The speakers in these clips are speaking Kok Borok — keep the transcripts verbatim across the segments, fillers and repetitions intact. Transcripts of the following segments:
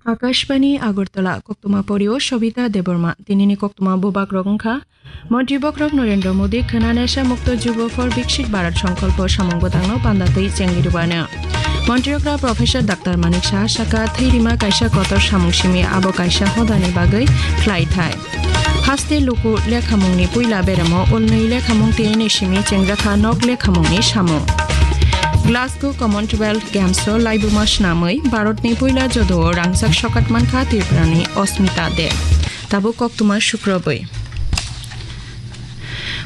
Akashbani Agartala, koktwma porio Sobita Debbarma. Tinini koktwma bubagrok wngkha: Montri bokhorok Narendra Modi khwna Nesha Mukto Jubo for Viksit Bharat Sankalpo samung bwtangno panda twi chengwi rwano. Montri okra Professor Doctor Manik Saha saka, thwi rima kaisa kotor samung simi, abo kaisa hodani bagwi khlai thai. Haste luku lekhamungni puila beremo ulnwi lekhamung tei simi chengjakha nok lekhamungni samung. Glasgow Commonwealth Games o laibuma swnamwi Bharatni puila judo o rangchak sokat mankha Tripurani Osmita De. Tabuk koktwma sukrobwi.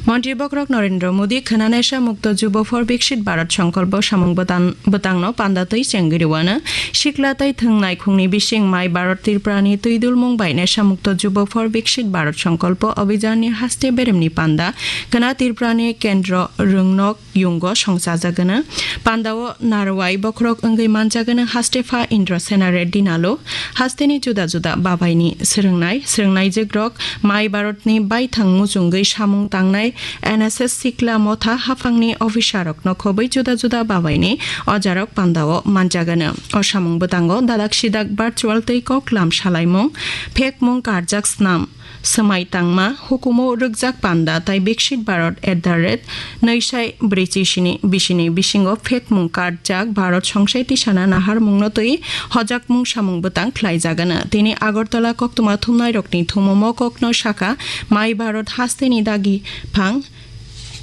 Montri bokhorok Narendra Modi khwna Nesha Mukto Jubo for Viksit Bharat Sankalpo samung bwtan-, bwtangno panda twi chengwi rwano. Sikla tei thwng naikhungni bising mai Bharat Tripurani twidulmung bai Nesha Mukto Jubo for Viksit Bharat Sankalpo Abhijanni haste beremni panda khwna Tripurani Kendro Rwngnok yungo songchajagwno. Pandao narwai bokhorok wngwi manjagwno hastepha Indrasena Reddy Nalu. Hasteni juda juda babaini swrwngnai, swrwngnaijwkrok mai Bharatni baithang muchungwi samung tangnai N S S Sikla Motha haphangni officerrokno khobwi juda juda babaini ojarok pandao manjagwno. O samung bwtango dadak sidak virtual tei koklam salaimung, phekmung karjak snam, swmai tangma, hukumu rwkjak panda tai Viksit Bharat at the rate nwi sai brwichi sini bisini bisingo phekmung karjak Bharat songsai tisana naharmungno twi hojakmung samung bwtang khlaijagwno. Tini Agartala koktwma thumnairokni thumung mokokno sakha mai Bharat hasteni dagi phang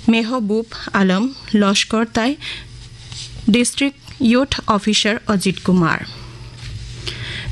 Mehbub Alam Loskor tai District Youth Officer Ajit Kumar.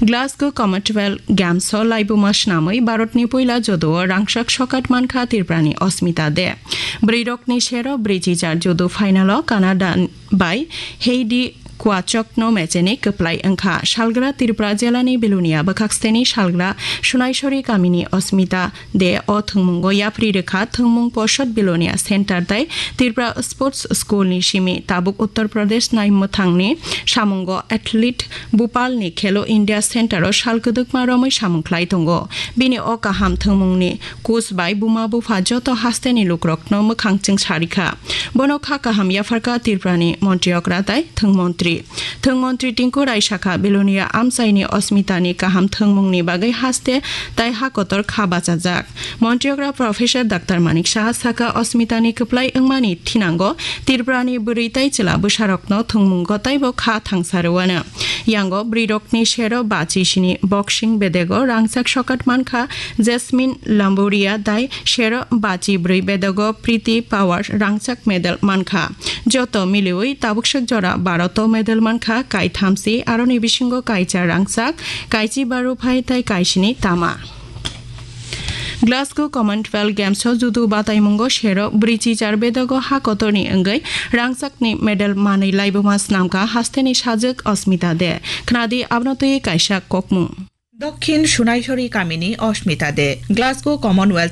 Glasgow Commonwealth Games o laibuma swnamwi Bharatni puila judo o rangchak sokat mankha Tripurani Osmita De. Bwrwirokni sero brwichi jar judo final o Canada bai Heidi Kwachokno mecheni kwplai wngkha. Salgra Tripura jelani Belonia bwkhaksteni salgra Sunaisori kamini Osmita De o thwngmungo yapri rwkha. Thwngmung Posot Belonia Center tei Tripura Sports School ni simi tabuk Uttar Pradesh nai mwthangni samungo athlete Bhopal ni Khelo India Center o sal kwdwkma romwi samung khlai tongo. Bini o kaham thwngmungni coach bai buma bupha joto hasteni lukurokno mwkhang chwng sarikha. Bono kha kaham yapharkha Tripurani montri okra tai thwng montri. Thwng montri Tinku Rai sakha, Belonia amchaini Osmitani kaham thwngmungni bagwi haste tai ha kotor kha bachajak. Montri okra Professor Doctor Manik Saha sakha, Osmitani kwplai wngmani thinango Tripurani bwrwi tai chwla bwsarokno thwngmungo taibo kha thangsa rwano. Yango bwrwirokni sero bachi sini boxing bedego rangchak sokat mankha Jasmine Lamboria tai sero bachi brwi bedego Priti Pawar rangchak medal mankha. Joto miliwi tabukswk jora Bharat o medal mankha kaithamsi, aroni bisingo kaisa rangchak, kaichi baru phai tai kaisini tama. Glasgow Commonwealth Games o judo bataimungo sero brwichi jar bedego ha kotorni wngwi rangchakni medal manwi laibuma snamkha hasteni sajwk Osmita De. Khnadi abono twi kaisa kokmung. Dokhin Sunaisori kamini Osmita De, Glasgow Commonwealth